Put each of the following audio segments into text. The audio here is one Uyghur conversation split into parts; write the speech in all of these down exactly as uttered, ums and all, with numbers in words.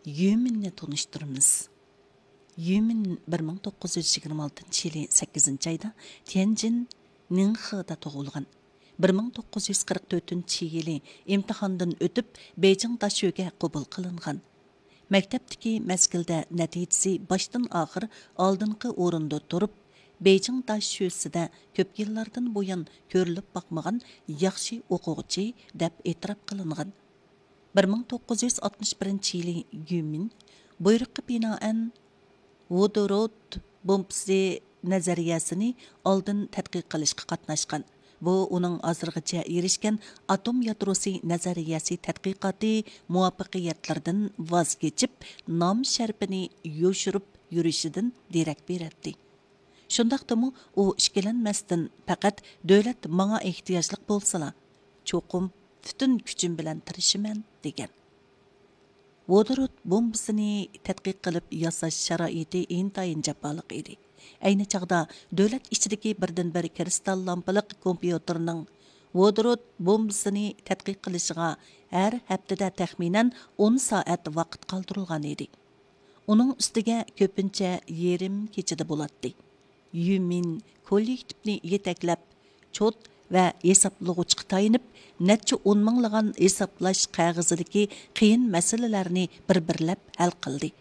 يۈمىننى تونۇشتۇرىمىز. يۈمىن بىر مىڭ توققۇز يۈز يىگىرمە ئالتىنچى يىلى سەككىزىنچى ئايدا تيەنجىن نىڭخېدا تۇغۇلغان. بىر مىڭ توققۇز يۈز قىرىق تۆتىنچى يىلى ئىمتىھاندىن ئۆتۈپ، بېيجىڭ داشۆگە قوبۇل قىلىنغان. مەكتەپتىكى مەزگىلدە نەتىجىسى باشتىن ئاخىر ئالدىنقى ئورۇندا تۇرۇپ، بېيجىڭ داشۆسىدە كۆپ يىللاردىن بۇيان كۆرۈلۈپ باقمىغان ياخشى ئوقۇغۇچى دەپ ئېتىراپ قىلىنغان. بىر مىڭ توققۇز يۈز ئاتمىش بىرىنچى يىلى يۈمىن بۇيرۇققا بىنائەن ۋودورود بومبىسى نەزەرىيەسىنى ئالدىن تەتقىق قىلىشقا قاتناشقان. بۇ ئۇنىڭ ھازىرغىچە ئېرىشكەن ئاتوم يادروسى نەزەرىيەسى تەتقىقاتى مۇۋەپپەقىيەتلىرىدىن ۋاز كېچىپ، نام شەرىپىنى يوشۇرۇپ يۈرۈشىدىن دېرەك بېرەتتى. شۇنداقتىمۇ ئۇ ئىككىلەنمەستىن، پەقەت دۆلەت ماڭا ئېھتىياجلىق بولسىلا، چوقۇم پۈتۈن كۈچۈم بىلەن تىرىشىمەن، دېگەن. ۋودورود بومبىسىنى تەتقىق قىلىپ ياساش شارائىتى ئىنتايىن جاپالىق ئىدى. ئەينى چاغدا دۆلەت ئىچىدىكى بىردىنبىر كىرىستال لامپىلىق كومپيۇتېرنىڭ ۋودورود بومبىسىنى تەتقىق قىلىشىغا ھەر ھەپتىدە تەخمىنەن ئون سائەت ۋاقىت قالدۇرۇلغان ئىدى. ئۇنىڭ ئۈستىگە كۆپىنچە يېرىم كېچىدە بولاتتى. يۈمىن كوللېكتىپنى يېتەكلەپ، چوت ۋە ھېسابلىغۇچقا تايىنىپ، نەچچە ئون مىڭلىغان ھېسابلاش قەغىزىدىكى قىيىن مەسىلىلەرنى بىر-بىرلەپ ھەل قىلدى.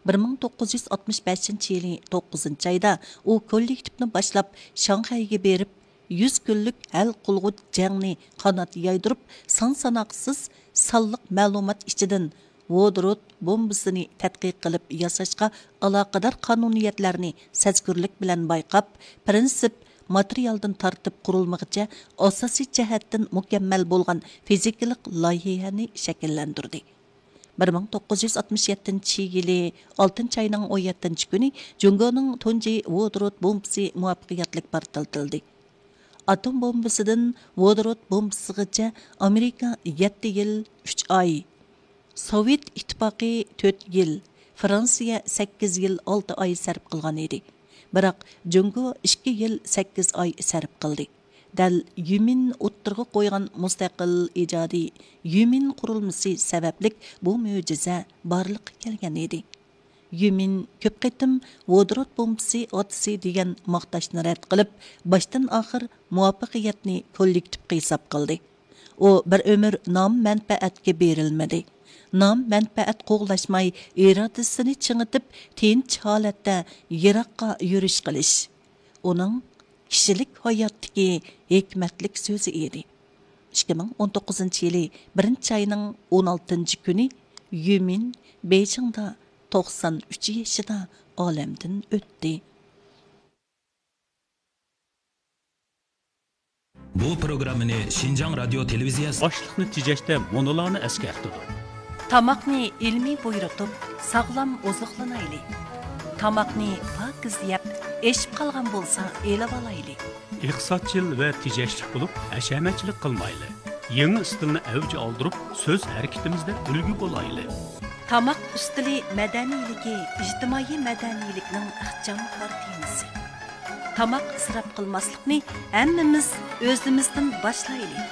بىر مىڭ توققۇز يۈز ئاتمىش بەشىنچى يىلى توققۇزىنچى ئايدا ئۇ كوللېكتىپنى باشلاپ، شاڭخەيگە بېرىپ، يۈز كۈنلۈك ھەل قىلغۇچ جەڭنى قانات يايدۇرۇپ، سان-ساناقسىز سانلىق مەلۇمات ئىچىدىن ۋودورود بومبىسىنى تەتقىق قىلىپ ياساشقا ئالاقىدار قانۇنىيەتلەرنى سەزگۈرلۈك بىلەن بايقاپ، پىرىنسىپ، ماتېرىيالدىن تارتىپ قۇرۇلمىغىچە ئاساسىي جەھەتتىن مۇكەممەل بولغان فىزىكىلىق لايىھەنى شەكىللەندۈردى. بىر مىڭ توققۇز يۈز ئاتمىش يەتتىنچى يىلى ئالتىنچى ئاينىڭ ئون يەتتىنچى كۈنى جۇڭگونىڭ تۇنجى ۋودورود بومبىسى مۇۋەپپەقىيەتلىك پارتلىتىلدى. ئاتوم بومبىسىدىن ۋودورود بومبىسىغىچە ئامېرىكا يەتتە يىل ئۈچ ئاي، سوۋېت ئىتتىپاقى تۆت يىل، فرانسىيە سەككىز يىل ئالتە ئاي سەرپ قىلغان ئىدى. بىراق، جۇڭگو ئىككى يىل سەككىز ئاي سەرپ قىلدى. دەل يۈمىن ئوتتۇرىغا قويغان مۇستەقىل ئىجادىي يۈمىن قۇرۇلمىسى سەۋەبلىك بۇ مۆجىزە بارلىققا كەلگەن ئىدى. يۈمىن كۆپ قېتىم ۋودورود بومبىسى ئاتىسى دېگەن ماختاشنى رەت قىلىپ، باشتىن ئاخىر مۇۋەپپەقىيەتنى كوللېكتىپقا ھېساب قىلدى. ئۇ بىر ئۆمۈر نام-مەنپەئەتكە بېرىلمىدى. نام-مەنپەئەت قوغلاشماي، ئىرادىسىنى چىڭىتىپ، تىنچ ھالەتتە يىراققا يۈرۈش قىلىش ئۇنىڭ كىشىلىك ھاياتتىكى ھېكمەتلىك سۆزى ئىدى. ئىككى مىڭ ئون توققۇزىنچى يىلى بىرىنچى ئاينىڭ ئون ئالتىنچى كۈنى يۈمىن بېيجىڭدا توقسان ئۈچ يېشىدا ئالەمدىن ئۆتتى. بۇ پروگراممىنى شىنجاڭ رادىيو تېلېۋىزىيەسى باشلىقنى تېجەشتە مۇنۇلارنى ئەسكەرتىدۇ. تاماقنى ئىلمىي بۇيرۇتۇپ، ساغلام ئوزۇقلىنايلى. تاماقنى پاكىز يەپ، ئېشىپ قالغان بولسا ئېلىۋالايلى. ئىقتىسادچىل ۋە تېجەشلىك بولۇپ، ھەشەمەتچىلىك قىلمايلى. يېڭى ئىستىلنى ئەۋج ئالدۇرۇپ، سۆز ھەرىكىتىمىزدە ئۈلگە بولايلى. تاماق ئۈستىلى مەدەنىيلىكى ئىجتىمائىي مەدەنىيلىكنىڭ ئىخچام كارتىنىسى. تاماق ئىسراپ قىلماسلىقنى ھەممىمىز ئۆزىمىزدىن باشلايلى.